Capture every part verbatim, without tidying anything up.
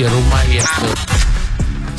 Rumah iya ke.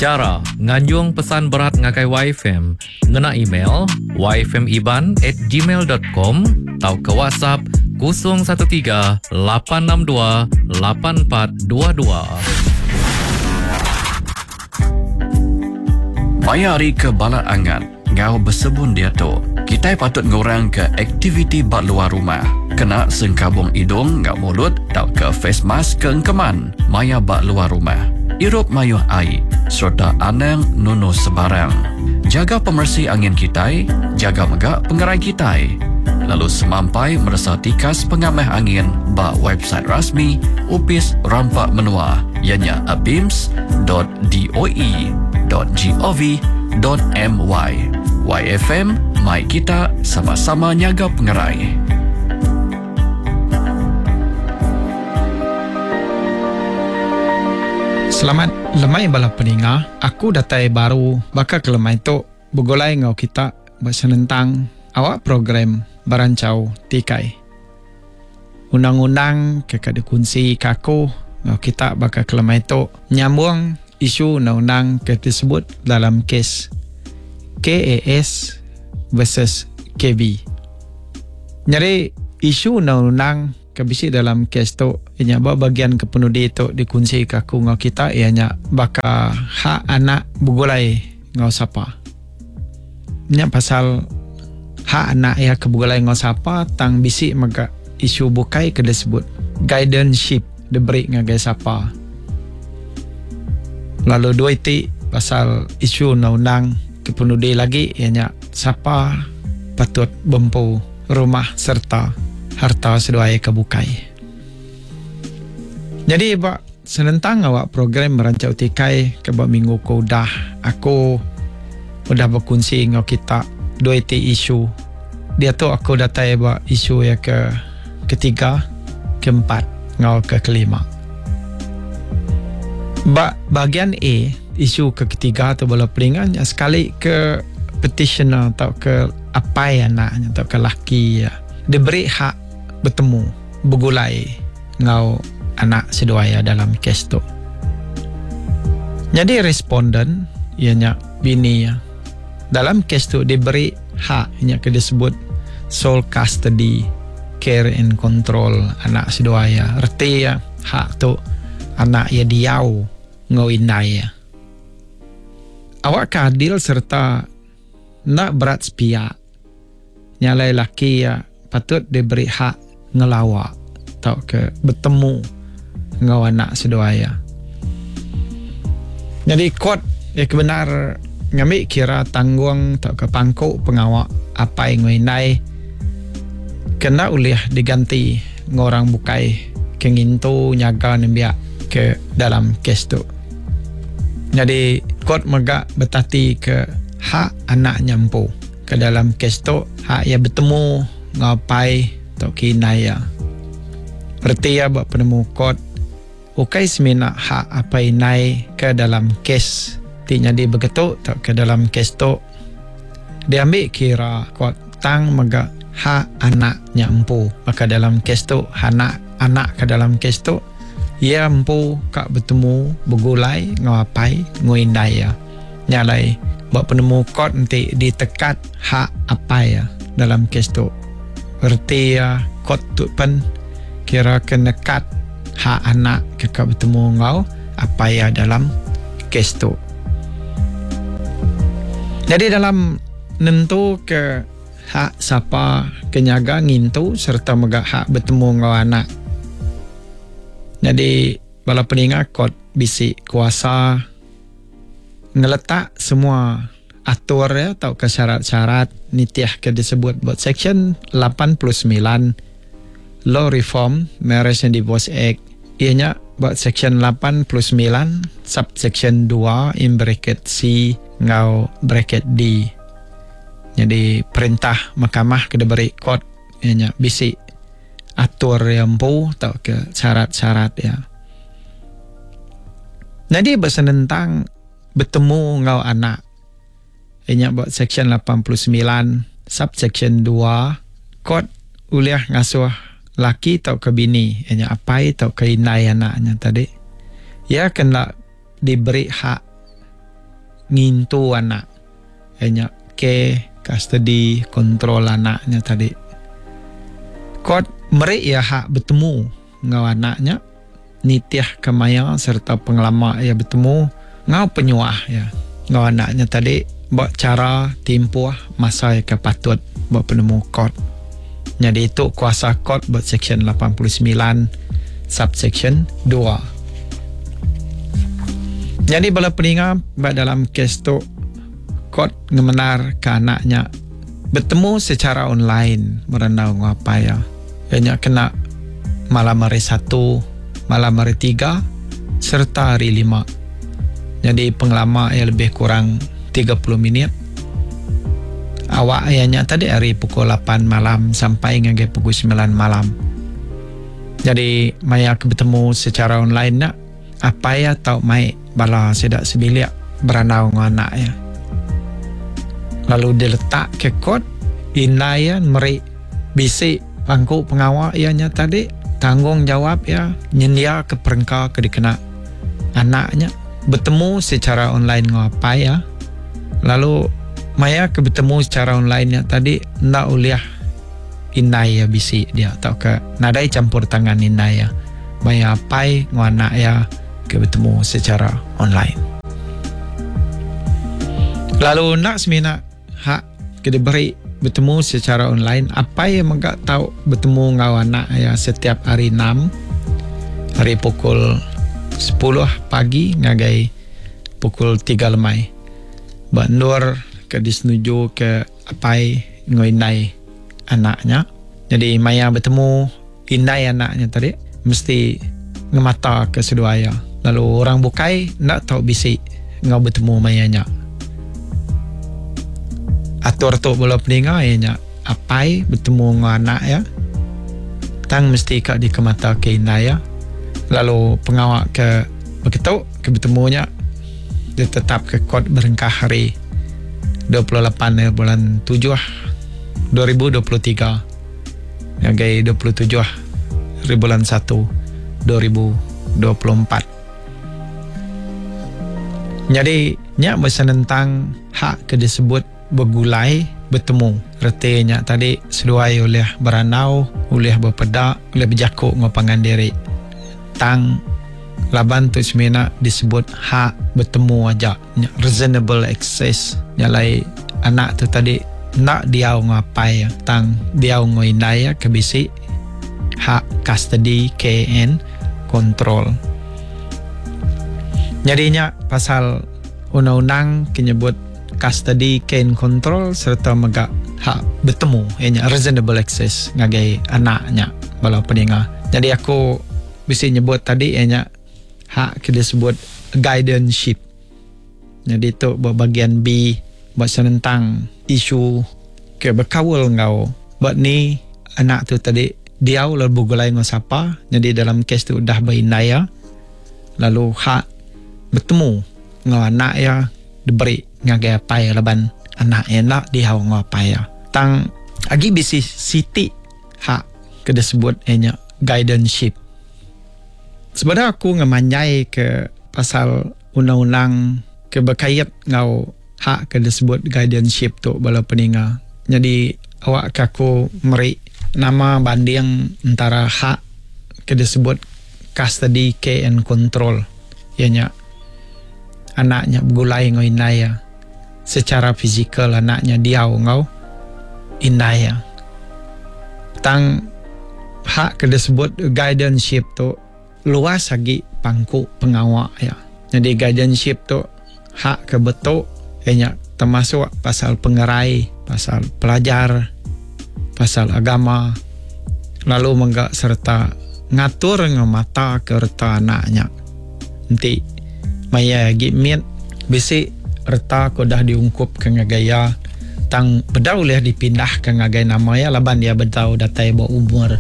Chara nganjung pesan berat ngagai Y F M ngena email y f m iban at gmail dot com tauka WhatsApp kosong satu tiga lapan enam dua lapan empat dua dua. Maya hari ke balat angat ngau bersebun dia tu, kita patut ngurang ke aktiviti bak luar rumah. Kena sengkabung hidung ngau mulut tau ke face mask ke engkeman maya bak luar rumah. Irup mayuh air serta anang nunu sebarang. Jaga pemersi angin kitai, jaga megak pengerai kitai. Lalu semampai merasa tikas pengamah angin bak website rasmi Upis Rampak Menua ianya abims dot d o e dot g o v dot m y. Y F M, mai kita sama-sama nyaga pengerai. Selamat lemai bala peninga. Aku datai baru baka ke lemai tu begulai ngau kita bersenentang awak program Berancau Tikai. Undang-undang ke kada kunci kaku ngau kita baka ke lemai tu nyambung isu undang-undang ke tersebut dalam kes K A S versus K B. Jadi isu undang-undang ke bisi dalam kes tu ianya ba bagian kepenudi tu dikunci ke aku ngau kita ianya baka hak anak begulai ngau sapa. Nya pasal hak anak ia ke begulai ngau sapa tang bisi mega isu bukai ke disebut guardianship diberi ngagai sapa. Lalu dua iti pasal isu undang-undang kepenudi lagi ianya sapa patut bempu rumah serta harta seduai ke bukai. Jadi ba senentang awak program Merancau Tikai ke ba minggu ke udah aku udah berkunci ngau kita dua iti isu. Dia tu aku datai ba isu yang ke ketiga, keempat ngau ke kelima. Ba bahagian A isu ke ketiga tu bala pelingan sekali ke petitioner atau ke apai anaknya atau ke laki ya diberi hak bertemu bergulai ngau anak seduai dalam kes tu. Jadi responden ianya bini ya. Dalam kes tu diberi hak ianya ke disebut sole custody, care and control anak seduai ya. Reti ya hak tu anak ia diau ngau indai ya. Awak keadil serta nak berat sepihak. Nyalai laki ya patut diberi hak ngelawak atau ke bertemu ngau anak seduai ya. Jadi kuat ya kebenar ngambil kira tanggung atau ke pangkuk pengawak apa yang ngindai kena ulih diganti ngorang bukai ke ngintu nyaga nembiak ke dalam kes tu. Jadi kuat megak bertati ke hak anak nyampu ke dalam kes tu hak ia bertemu ngapai atau kinai ya. Berarti ya buat penemu kot ukai semina hak apa inai ke dalam kes ti nyadi begitu atau ke dalam kes tu diambil kira kot tang megak hak anak nyampu maka dalam kes tu anak anak ke dalam kes tu ia empu kak bertemu bergulai ngapai nguindai ya. Nyalai buat penemu kot nanti ditekat hak apa ya dalam kes tu. Erti ya kot tu pen kira kena kat hak anak ke kak bertemu ngau apa ya dalam kes tu. Jadi dalam nentu ke hak siapa kenyaga ngintu serta megak hak bertemu ngau anak. Jadi bala peninga kot bisi kuasa ngeletak semua atur ya atau ke syarat-syarat nitiah ke disebut buat section lapan puluh sembilan Law Reform Marriage and Divorce Act ianya buat section lapan puluh sembilan subsection dua in bracket C ngau bracket D. Jadi perintah mahkamah ke diberi kot ianya bisi atur yang empu atau ke syarat-syarat ya. Jadi bersenentang bertemu ngau anak ianya buat section lapan puluh sembilan subsection dua kot uliah ngasuh laki atau ke bini ianya apai atau ke indai anaknya tadi Ya kena diberi hak ngintu anak. Nya ke custody kontrol anaknya tadi. Kot meri ya hak bertemu ngau anaknya nitiah kemaya serta pengelama ia bertemu ngau penyuah ya ngau anaknya tadi buat cara timpuh masa yang patut buat penemu kot. Jadi itu kuasa kot buat section lapan puluh sembilan subsection dua. Jadi bala peninga buat dalam kes tu kot ngemenar ke anaknya bertemu secara online merendau ngapa ya. Ianya kena malam hari satu, malam hari tiga serta hari lima. Jadi pengelama ia lebih kurang tiga puluh minit. Awak ianya tadi hari pukul lapan malam sampai ngagai pukul sembilan malam. Jadi maya ke bertemu secara online nak apa ya tau mai bala sedak sebilik beranau dengan anak ya. Lalu diletak ke kot inai ya meri bisik pangku pengawak ianya tadi tanggungjawab ya nyendia ke perengka ke dikena anaknya bertemu secara online dengan apa ya. Lalu maya ke bertemu secara online ya tadi ndak uliah inai ya bisik dia atau ke nadai campur tangan inai ya. Maya apai dengan anak ya ke bertemu secara online. Lalu nak semina hak ke diberi bertemu secara online, apa yang megak tahu bertemu dengan anak ya setiap hari enam hari pukul sepuluh pagi ngagai pukul tiga lemai. Bandur ke disenuju ke apai ngoinai anaknya. Jadi maya bertemu indai anaknya tadi mesti ngemata ke seduaya. Lalu orang bukai nak tahu bisik ngau bertemu mayanya. Atur tu bola peninga ianya apai bertemu dengan anak ya. Tang mesti kak dikemata ke indai ya. Lalu pengawak ke begitu ke bertemunya dia tetap ke kot berengkah hari dua puluh lapan bulan tujuh dua ribu dua puluh tiga ngagai dua puluh tujuh hari bulan satu dua ribu dua puluh empat. Jadi nyak bersenentang hak ke disebut bergulai bertemu. Retinya tadi seduai oleh beranau, oleh berpedak, oleh berjakuk ngopangan diri. Tang laban tu semina disebut hak bertemu aja. Reasonable access. Nyalai anak tu tadi nak diau ngapai tang diau ngoinai ke bisi hak custody K N control. Jadinya pasal undang-undang menyebut custody care and control serta megak hak bertemu ianya reasonable access ngagai anaknya bala peninga. Jadi aku bisa nyebut tadi ianya hak kita sebut guardianship. Jadi tu buat bagian B buat senentang isu ke berkawal ngau buat ni anak tu tadi diau lalu bergulai ngau siapa. Jadi dalam kes tu dah berindaya lalu hak bertemu ngau anak ya diberi ngagai apa ya laban anak ya nak diau ngau apa ya. Tang agi bisi siti hak ke disebut ianya guardianship. Sebenarnya aku ngemanjai ke pasal undang-undang ke berkait ngau hak ke disebut guardianship tu bala peninga. Jadi awak ke aku meri nama banding antara hak ke disebut custody care and control. Ianya anaknya bergulai ngau indai ya. Secara fizikal anaknya diau ngau indai ya. Tang hak ke disebut guardianship tu luas lagi pangku pengawak ya. Jadi guardianship tu hak ke betul ianya termasuk pasal pengerai, pasal pelajar, pasal agama, lalu menggak serta ngatur dengan mata ke reta anaknya. Nanti maya lagi mit bisi reta ko dah diungkup ke ngagaya tang bedau boleh dipindah ke ngagai nama ya laban dia bedau datai ba umur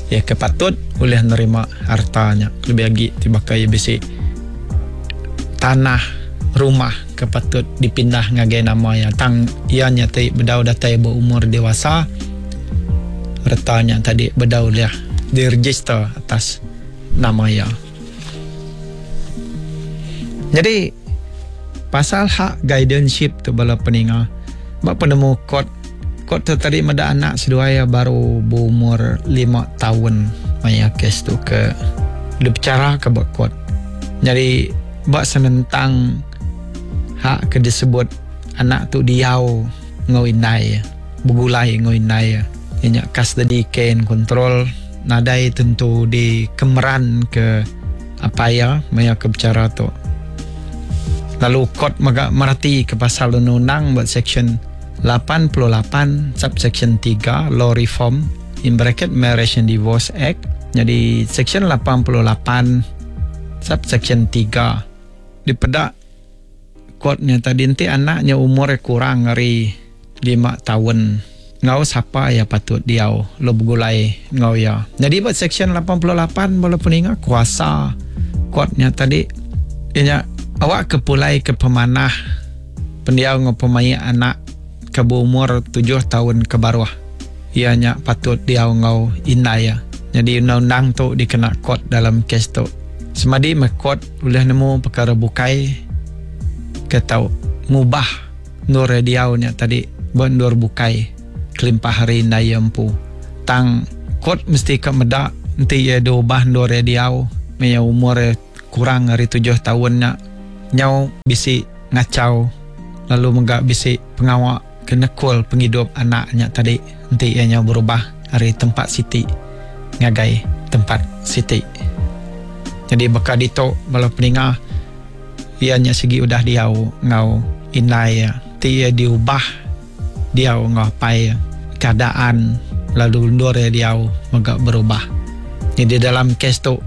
ya kepatut boleh nerima hartanya. Lebih lagi tiba kaya bisi tanah rumah kepatut dipindah ngagai nama ya tang ianya ti bedau datai ba umur dewasa retanya tadi bedau dia diregister atas nama ya. Jadi pasal hak guardianship tu bala peninga, bak penemu court, court tu tadi meda anak seduai baru berumur lima tahun maya kes tu ke dibicara ke bak court. Jadi bak senentang hak ke disebut anak tu diau ngau indai, begulai ngau indai, ianya custody care and control nadai tentu di kemeran ke apa ya maya ke bicara tu. Lalu court mega merati ke pasal undang-undang buat section lapan puluh lapan subsection tiga Law Reform in bracket Marriage and Divorce Act. Jadi section lapan puluh lapan subsection tiga dipedak courtnya tadi nanti anaknya umur kurang dari lima tahun ngau siapa ya patut diau lo begulai ngau ya. Jadi buat section lapan puluh lapan boleh peninga kuasa courtnya tadi ianya awak kepulai ke pemanah pendiau ngau pemain anak ke berumur tujuh tahun ke bawah ianya patut diau ngau indai ya. Jadi undang-undang tu dikena court dalam kes tu. Semadi me court boleh nemu perkara bukai ke tau ngubah nur diau nya tadi bendur bukai kelimpah hari indai empu. Tang court mesti ke medak nanti ia diubah nur diau maya umur kurang dari tujuh tahun nya nyau bisi ngacau lalu menggak bisi pengawak kenekul penghidup anaknya tadi nanti ia nyau berubah dari tempat siti ngagai tempat siti. Jadi bakal ditok bala peninga ianya segi udah diau ngau indai ya. Ti ia diubah diau ngau apai ya. Keadaan lalu undur ia diau megak berubah. Jadi dalam kes tu